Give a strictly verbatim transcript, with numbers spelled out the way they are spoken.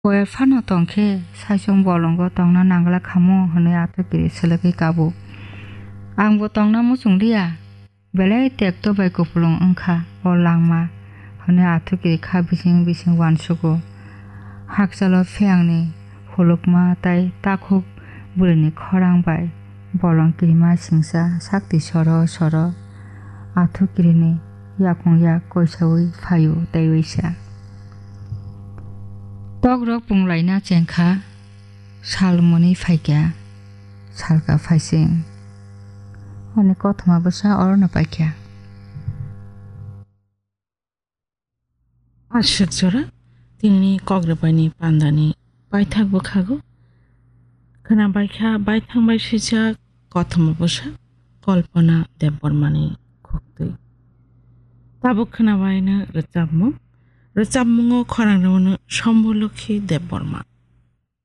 Koyer phano tong khe saichung bolongo tongna nangla khamu hwnwi Athukiri selekwi kabo. Angbo tongna muchung liya, belai tekto bai kupulung wngkha o langma hwnwi Athukiri kha bising bising uansugo. Hakchalo phiyangni hulukma tai takhuk bwrwini khorang bai bolong kirima singsa sakti soro soro Athukirini yakung yak koisaui phaio tei uisa. Tokrok punglaina chengkha, sal mwnwi phaikha, salka phaising. Ani kothoma bwsa orono paikha. Aswk jora tinini kok rwbaini pandani paithak bwkhago khwnabaikha baithang bai swijak kothoma bwsa Kalpana Debbarmani khuktwi. Tabuk khwnabaino rwchapmung. Rwchapmungo khorang rwmano Shambhulokhi Debbarma.